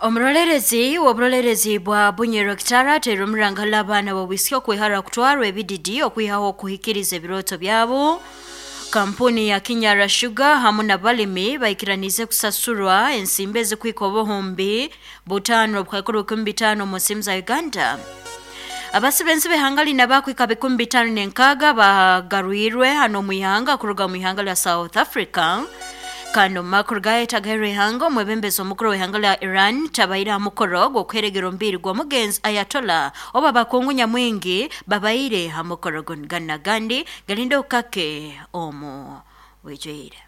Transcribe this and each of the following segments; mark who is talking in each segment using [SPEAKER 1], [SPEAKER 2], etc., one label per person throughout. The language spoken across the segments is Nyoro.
[SPEAKER 1] Omurolerezi w'oburolerezi bwa Bunyoro Kitara ateire omurangala abaana b'obwisiki okwehara kutwarwa ebididi okwihaho okuhikiriza ebirooto byabo. Kampuni ya Kinyara Sugar hamu n'abalimi baikiranize kusasurwa ensimbi ezikwika obuhumbi 5,500 omu nsimu za Uganda. Abasibenzi b'ihanga lina bakwika 56 bagarwirwe hano mu ihanga kuruga mu ihanga lya South Africa. Kandi omu makuru gayetagairwe ihanga, omwebembezi omukuru w'ihanga lya Iran tabaire ha mukoro gw'okuheregera omubiri gw'omugenzi Ayatollah oba abakungu nyamwingi babaire ha mukoro gunu. Ganu n'agandi galinde okukake omu bwijwire.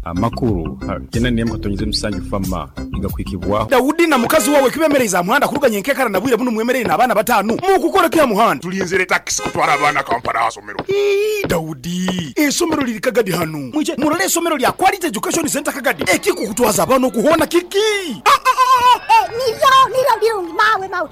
[SPEAKER 2] Amakuru kyenda n'emu katonyeze musanju fama nigakuhikibwaho.
[SPEAKER 3] Daudi na mukazi wawe kibemereize aha muhanda kuruga nyenkekara na bwire bunu mwemereire n'abaana batanu. Mukukora ki aha muhanda?
[SPEAKER 4] Tulinzire takisi kutwara abaana Kampala aha somero.
[SPEAKER 3] Ii, Daudi, esomero liri Kagadi hanu. Mwije murole esomero lya Quality Education Center Kagadi. Ekikukutwaza abaana okuhoona kiki?
[SPEAKER 5] Niryo, niryo birungi, mawe, mawe.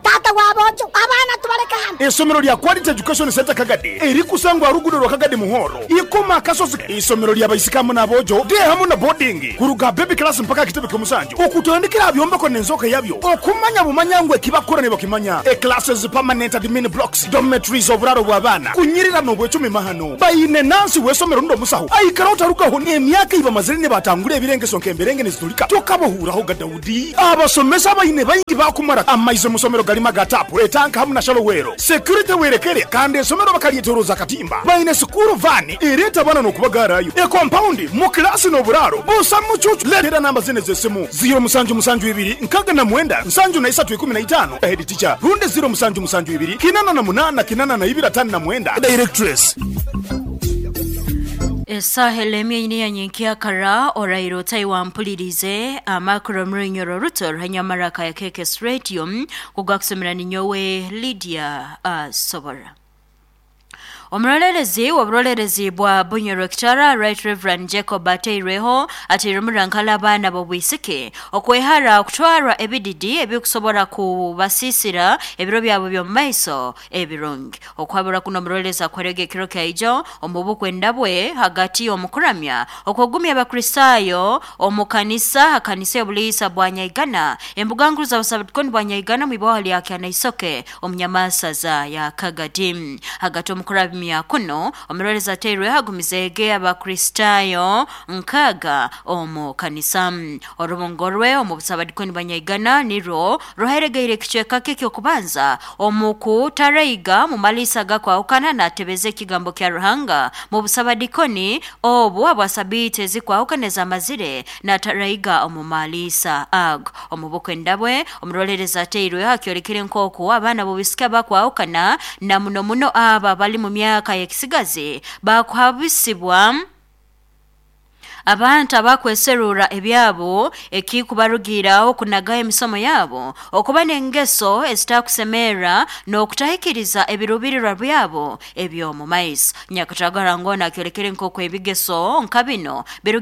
[SPEAKER 5] Taata w'aboojo, abaana tubaleke hano.
[SPEAKER 3] Esomero lya Quality Education Center Kagadi erikusangwa aha ruguudo rwa Kagadi Muhoro, Ikoma Akasozi. Isomero lya baisiki hamu n'aboojo, day hamu na boarding, kuruga baby class mpaka aha kitebe ky'omusanju, okutandikira aha byombeko n'enzooka yabyo, okumanya bumanya ngu eki bakukora nibakimanya. E classes, permanent admin blocks, dormitories, oburaaro bw'abaana, kunyirira n'obwecumi mahano. Baine nansi w'esomero rundi omusaho aikara otarugaho n'emyaka ei bamazire nibatangura ebirengeso nk'emberenge nizitulika tokabahuuraho ga Daudi. Abasomesa abaine baingi bakumara amaizi omu somero garimu aga taapu, etanka hamu na shallow well. Security werekere kandi esomero bakaryetoroza akatimba. Baine sikuuru vaani ereeta abaana n'okubagaarayo. Ekompaundi, mu kilaasi n'oburaaro busa mucuucu. Leetera namba zinu ez'esimu, ziro musanju musanju ibiri nkaga na mwenda nsanju na isatu ikumi na itaano, head teacher, rundi 0772 88 82 59, directress.
[SPEAKER 1] Esaaha elemya eine ya nyenkyakara oraire otayi wampulirize amakuru omurunyoro ruto ruhanyamara ya KKS Radio kugakusomera ninyowe Lydia Asobora. Omurolerezi w'oburolerezi bwa Bunyoro Kitara Right Reverend Jacob Ateireho ateire omurankala abaana b'obwisiki okwehara okutwarwa ebididi ebikusobora kubasisira ebiro byabo by'omu maiso ebirungi. Okuhabura kuno omurolerezi akwerega ekiro kyaijo omu bukwenda bwe hagati y'omukuramya okwogumya abakristaayo omu kanisa akanisa y'obuliisa bwa Nyaigana embuga nkuru z'abasabdikoni bwa Nyaigana mu ibwaho lya Kyanaisoke omu nyamasaza ya Kagadi. Hagati omukuramya kuno omurolerezi ateirweho agumizeege abakristaayo nkaaga omu kanisa. Orubungo rwe omu busabadikoni bwa Nyaigana nirwo ruheregeire ekicweka kye eky'okubanza omu kutaraiga mu maliisa gakwahukana n'atebeza ekigambo kya Ruhanga mu busabadikoni obu abwa sabiiti ezikwahukana ezamazire n'ataraiga omu maliisa ago. Omu bukwenda bwe omurolerezi ateirweho akyolekere nk'oku abaana b'obwisiki abakwahukana na muno muno abo abali mu myaka y'ekisigazi bakuhabisibwa abantu abakweserura ebyabo ekikubarugiraho kunagaho emisomo yabo okuba n'engeso ezitakusemerra n'okutahikiriza ebirubirirwa byabo eby'omu maiso. Nyakatagara ngona akyolekere nk'oku ebigeso nka bino biru